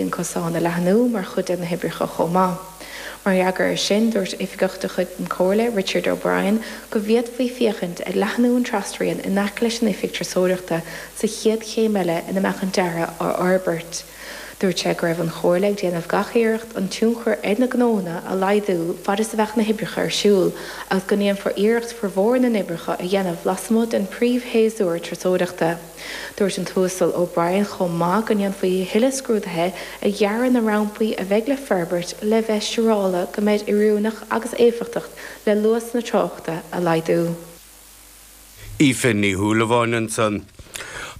An cosán a leathnú mar chuid de na hoibreacha chomh maith. Mar fhreagra air sin, dúirt oifigeach de chuid na Comhairle, Richard O'Brien, go bhféadfaí féachaint ag leathnú an trasrian in aice leis an oifig turasóireachta sa chéad chéim eile ina mbeadh an dearadh á fhorbairt. Dúirt sé go raibh an Chomhairle ag déanamh gach iarracht an tionchar ar na gnónna a laghdú fad is a bheadh na hoibreacha ar siúl agus go ndéanfar iarracht formhór na n-oibreacha a dhéanamh lasmuigh den príomhshéasúr turasóireachta. Dúirt an tUasal O'Brien chomh maith go ndéanfaí a thuilleadh scrúdaithe ar dhearadh na rampaí a bheidh le forbairt le bheith siúrála go mbeid oiriúnach agus éifeachtach le luas na tráchta a laghdú. Aoife Ní Shúilleabháin ansan.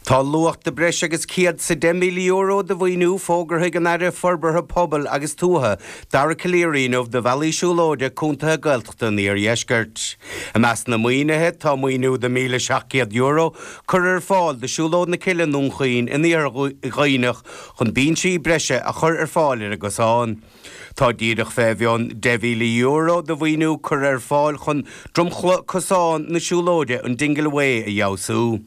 Tá luach de breis agus €110,000 de mhaoiniú fógartha ag an Aire Forbartha Pobail agus Tuaithe, Dara Calleary inniu do bhealaí siúlóide contaetha Gaeltachta an Iardheiscirt. I measc na maoinithe tá maoiniú de €1,700 curtha ar fáil do Siúlóid na Cille i nDún Chaoin in Iarthar Dhuibhneach chun binsí breise a chur ar fáil ar an gcosán. Tá díreach fé mhionn €10,000 de mhaoiniú curtha ar fáil chun dromchla cosán na siúlóide an Dingle Way a fheabhsú.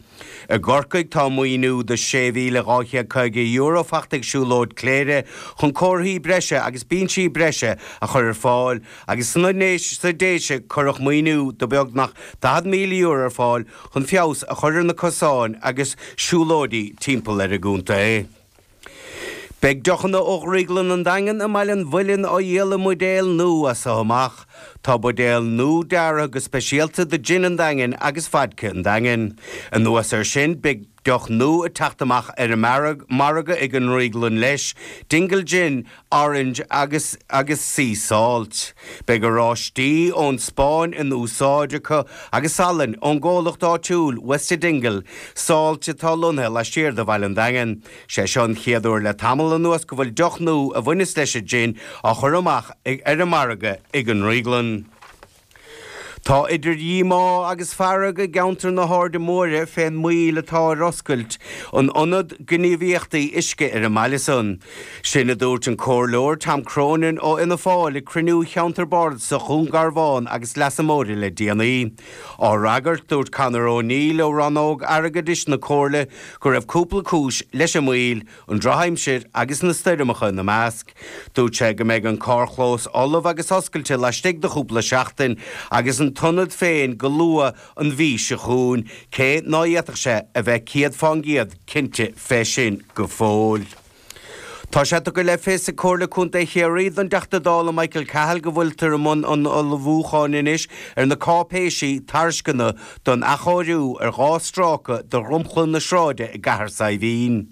I gCorcaigh tá maoiniú de €6,250 fachta ag Siúlóid Chléire chun comharthaí breise agus binsí breise a chur ar fáil agus sna sa Déise cuireadh maoiniú de beagnach €40,000 ar fáil chun feabhas a chur ar na cosáin agus siúlóidí timpeall ar an gcontae. Beidh deochanna ó Dhrioglann an Daingin i mBaile an Mhuilinn á dhíol i mbuidéil nua as so amach. Tá buidéil nua deartha go speisialta do Jin an Daingin agus Vodka an Daingin. Anuas air sin, beidh deoch nua ag teacht amach ar an margadh ag an ndrioglann leis, Dingle Gin, Orange agus agus Sea Salt. Beidh oráistí ón Spáinn in úsáid acu agus salainn ón gcomhlacht áitiúil West of Dingle Salt atá lonnaithe laistiar de Bhaile an Daingin. Sé seo an chéad uair le tamall anuas go bhfuil deoch nua a bhaineas leis an jin á chur amach ar an margadh ag an ndrioglann. Tá idir dhíomá agus fearg i gceantar na hAirde Móire fén moill atá ar oscailt an Ionad Gníomhaíochtaí Uisce ar an mbaile san. Sin a dúirt an Comhairleoir Tom Cronin ó Fhianna Fáil ag cruinniú Cheantar Bardasach Dhún Garbhán agus Leasa Móire le déanaí. Á fhreagairt, dúirt Conor O'Neill ó Rannóg Airgeadais na Comhairle go raibh cúpla cúis leis an moill, an drochaimsir agus na stoirmeacha ina measc. Dúirt sé go mbeidh an carrchlós ullamh agus oscailte laistigh de chúpla seachtain agus an t-ionad féin go luath an mhí seo chugainn, cé ná fhéadfadh sé a bheith 100% cinnte fé sin go fóill. Tá sé tugtha le fios ag Comhairle Contae Chiarraí don dTeachta Dála Michael Cahill go bhfuiltear i mbun an ullmhúcháin anois ar na cáipéisí tairisceana don athchóiriú ar 2 stráice de dhromchla na sráide i gCathair Saidhbhín.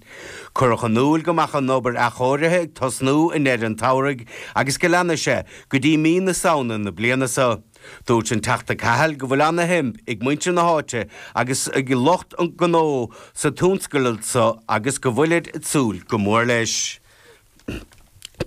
Cuireadh in iúl go mbeadh an obair athchóirithe ag tosnú i ndeireadh an tsamhraidh agus go leanfaidh sé go dtí mí na Samhna na bliana seo. Dúirt an Teachta Cahill go bhfuil ana-shuim ag muintir na háite agus ag lucht an gnó sa tionscadal so agus go bhfuilid ag súil go mór leis.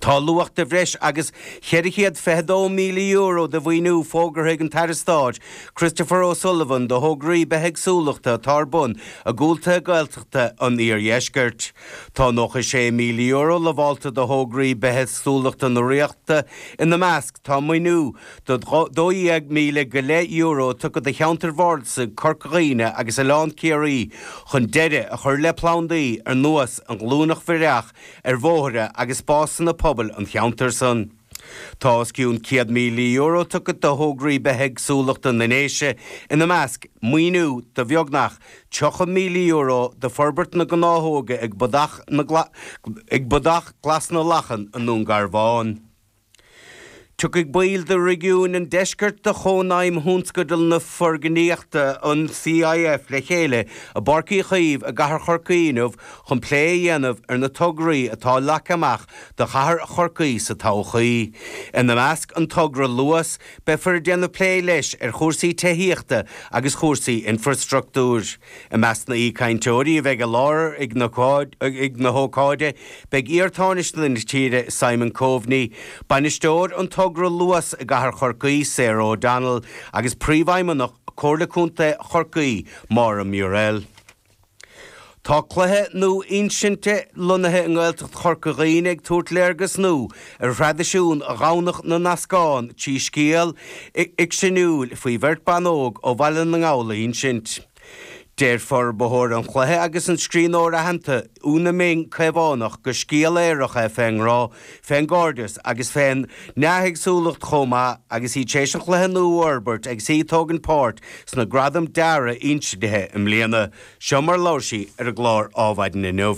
Tá luach de bhreis agus €422,000 de mhaoiniú fógartha ag an tAire Stáit Christopher O'Sullivan do thograí bithéagsúlachta atá ar bun i gcontaetha Gaeltachta an iardheiscirt. Tá €96,000 lamhálta do thograí bithéagsúlachta na Ríochta, ina measc tá maoiniú de €12,000 go leith tugtha do cheantair bhardasaigh Corca Dhuibhne agus Oileán Ciarraí chun deireadh a chur le plandaí ar nós an ghlúineach bhireach ar bhóithre agus spásanna pobail an cheantair san. Tá os cionn €100,000 tugtha do thograí bithéagsúlachta na nDéise, ina measc, maoiniú de bheagnach €30,000 do forbairt na gnáthóige ag Bodach Glas na Lachan i nDún Garbhán. Tiocfaidh baill de réigiúin an deiscirt de Chónaidhm Thionscadal na Foirgníochta, an CIF, le chéile i bPáirc Uí Chaoimh i gcathair Chorcaí inniu chun plé a dhéanamh ar na tograí atá leagtha amach do chathair Chorcaí sa todhchaí. Ina measc, an togra Luas, beifear ag déanamh plé leis ar chúrsaí tithíochta agus chúrsaí infreastruchtúir. I measc na aoichainteoirí a bheidh i láthair ag na hócáide beidh iar-Tánaiste na tíre Simon Coveney, bainisteoir an togra Luas i gcathair Chorcaí Sarah O'Donnell agus Príomhfheidhmeannach Comhairle Contae Chorcaí Maura Murrell. Tá cluiche nua-insinte lonnaithe i nGaeltacht Chorca Dhuibhne ag tabhairt léargas nua ar thraidisiún Dhomhnach na nEascán trí scéal fhicseanúil faoi bheirt ban óg ó Bhaile na nGall a insint. Deir forbarthóir an chluiche agus an scríbhneoir aitheanta Úna Ming Caomhánach gur scéal aorach é fén ngrá, fén gcairdeas agus fén nethéagsúlacht chomh maith agus í tar éis an chluiche nua a fhorbairt agus í ag tógaint páirt sna Gradaim Dearaidh Insinthe i mbliana. Seo mar labhair sí ar an gclár Ádhmhaidin inniu.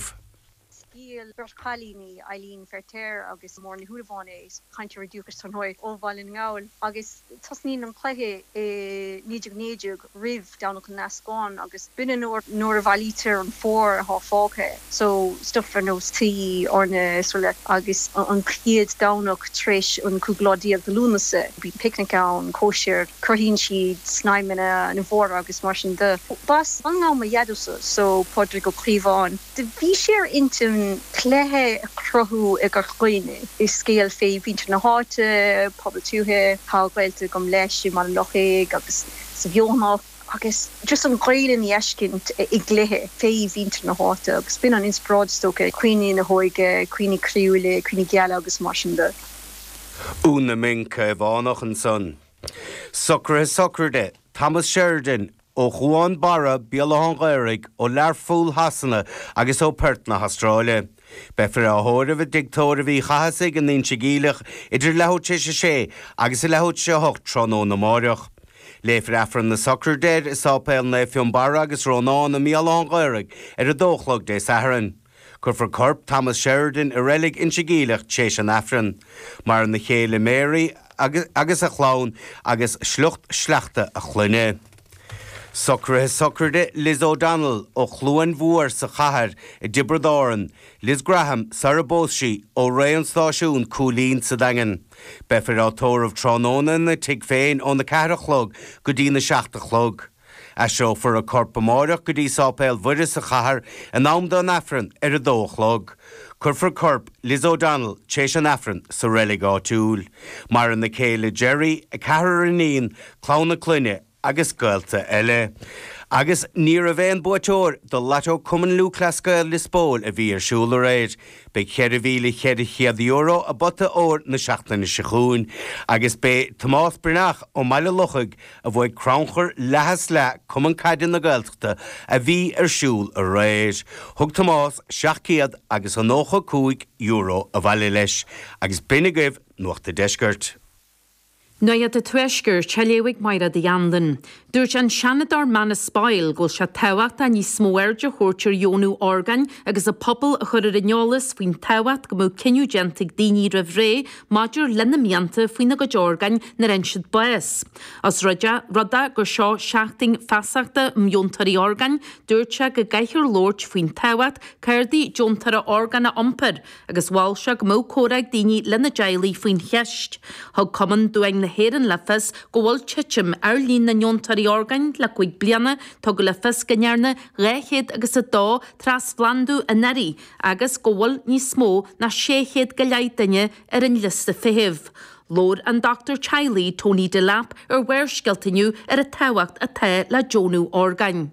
Scéal beirt chailíní, Eileen Feirtéar agus Máire Ní Shúilleabháin é, cainteoirí dúchais dar ndóigh, ó Bhaile na nGall, agus tosnaíonn an cluiche i 1919 roimh Domhnach na nEascán agus b'in an uair nuair a bhailítear an phór atá fágtha, so stuff ar nós tuí, eorna, srl. Agus an chéad Domhnach tar éis an cúigiú lá déag de Lúnasa, bíonn picnic ann, cóisir, cruthaíonn siad snaidhmeanna na bhfómhar agus mar sin de. B'as Baile na nGall mo dhaideo-sa, so Pádraig Ó Caomháin. Do bhí sé ar intinn cluiche a chruthú i gCorca Dhuibhne. Is scéal fé mhuintir na háite, pobal tuaithe, tá gaolta agam leis i mBaile Lochaig agus sa Bheothanach agus just an Ghaelainn a fheiscint i gcluiche fé mhuintir na háite agus b'in an inspioráid is dócha, cuimhní na hóige, cuimhní croíúla, cuimhní geala agus mar sin de. Úna Ming Caomhánach ansan. Socruithe sochraide Thomas Sheridan ó Chuan Barra, Béal Átha an Ghaorthaidh, ó Learpholl Shasana agus ó Perth na hAstráile. Beifear á thórramh i dTigh Tórraimh Uí Chathasaigh in Inse Geimhleach idir leathuair tar éis a sé agus a leathuair tar éis a hocht tráthnóna amáireach. Léifear Aifreann na sochraide air i Sáipéal Naomh Fionnbarra agus Rónán i mBéal Átha an Ghaorthaidh ar a dó a chlog Dé Sathairn. Cuirfear corp Thomas Sheridan i reilig Inse Geimhleach tréis an Aifrinn. Maireann a chéile Mary agus a chlann agus sliocht sleachta a clainne. Socruithe sochraide Liz O'Donnell ó Chluain Mhór sa Chathair i dTiobraid Árann, Liz Graham sar a bpós sí ó Rae an Stáisiún, Cúilín sa Daingean. Beifear á tórramh tráthnóna ina tigh féin óna ceathair a chlog go dtí na seacht a chlog. Aistreofar a corp amáireach go dtí Sáipéal Mhuire sa chathair in am don Aifreann ar a dó a chlog. Cuirfear corp Liz O'Donnell tréis an Aifrinn sa reilig áitiúil. Maireann a céile Gerry, a ceathrar iníon, clann a clainne agus gaolta eile. Agus ní raibh aon buaiteoir do Lotto Cumann Lúthchleas Gael Lios Póil a bhí ar siúl aréir. Beidh €4,400 i bpota óir na seachtaine seo chugainn agus b'é Tomás Breathnach ó mBaile Lochaig a bhuaigh crannchur leath is leath Cumann Caide na Gaeltachta a bhí ar siúl aréir. Thug Tomás 700 agus a 95 euro abhaile leis agus b'in agaibh Nuacht a' Deiscirt. Nuacht a' Tuaiscirt, á léamh ag Mairéad Uí Anluain. Dúirt an Seanadóir Manus Boyle go bhfuil sé tábhachtach níos mó airde a thabhairt ar dheonú orgáin agus an pobal a chur ar an eolas faoin tábhacht go mbeadh cinneadh déanta ag daoine roimh ré maidir lena mianta faoina gcuid orgáin nuair a fhaigheann siad bás. Os rud é rud é gur seo seachtain feasachta um dheontóirí orgáin, dúirt sé go gcaithfear labhairt faoin tábhacht cártaí deontóra orgán a iompar agus mhol sé go mbeadh comhrá ag daoine lena dteaghlaigh faoin cheist. Thug Cumann Duáin na hÉireann le fios go bhfuil titim ar líon na ndeontóirí orgáin le 5 bliana, tugadh le fios go ndearnadh 200 agus 2 trasphlandú anuraidh agus go bhfuil níos mó ná 600 go leith duine ar an liosta feithimh. Labhair an dochtúir teaghlaigh Tony Delap ar Bharrscéalta inniu ar an tábhacht atá le deonú orgáin.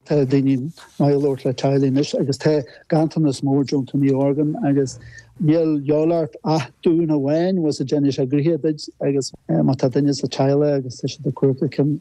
Tá daoine maith ag labhairt le teaghlaigh anois agus tá ganntanas mór deontóirí orgán agus níl de dhíobháil ort ach dún amháin bhfuil a fhios agat déanfaidh sé gnoithe duit agus má tá duine sa teaghlach agus tá siad ag cuartú ceann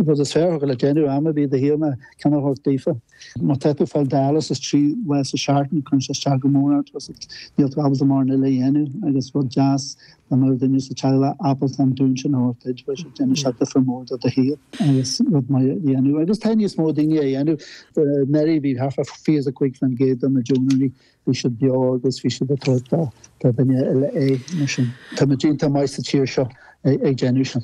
rud is fearr a thiocfadh le déanamh am ar bith i do shaol ná ceann a thabhairt daofa. Má tá tú ag fáil dialysis 3 lá sa seachtain, cuireann sé isteach go mór ort agus níl tú ábalta mórán eile a dhéanamh agus rud deas dá mbeadh duine sa teaghlach ábalta an dún sin a thabhairt duit, bheadh sé déanfaidh sé difear mór do do shaol agus rud maith a dhéanamh. Agus tá níos mó daoine á dhéanamh. Anuraidh bhí thart fá 25% de na deonóirí, bhí siad beo agus bhí siad ag tabhairt do dhuine eile é. Mar sin, tá muid iontach maith sa tír seo ag déanamh sin.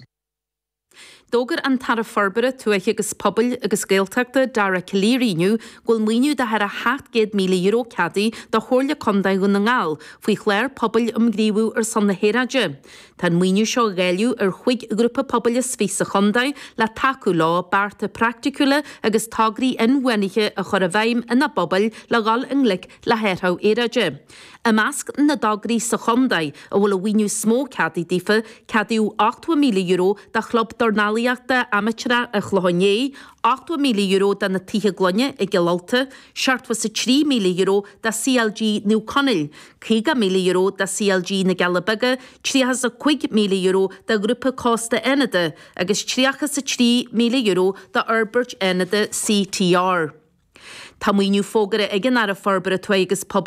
D'fhógair an tAire Forbartha Tuaithe agus Pobail agus Gaeltachta, Dara Calleary inniu go bhfuil maoiniú de thar €700,000 ceadaithe do Chomhairle Contae Dhún na nGall faoi chlár pobail um ghníomhú ar son na haeráide. Tá an maoiniú seo á dháileadh ar chúig ghrúpa pobail is fiche sa chontae le tacú leo bearta praiticiúla agus tograí inbhuanaithe a chur i bhfeidhm ina bpobail le dhul i ngleic le hathrú aeráide. I measc na dtograí sa chontae a bhfuil an mhaoiniú is mó ceadaithe daofa, ceadaíodh €80,000 do Chlub Dornálaíochta. Dornálaíochta Amaitéarach an Chlocháin Léith, €80,000 do na Tithe Gloine i gCill Ulta, €73,000 do CLG Naomh Conaill, €50,000 do CLG na gCealla Beaga, €35,000 do Ghrúpa Cósta Fhánada agus €33,000 do Fhorbairt Fhánada CTR. Tá maoiniú fógartha ag an Aire Forbartha Tuaithe agus Pobail.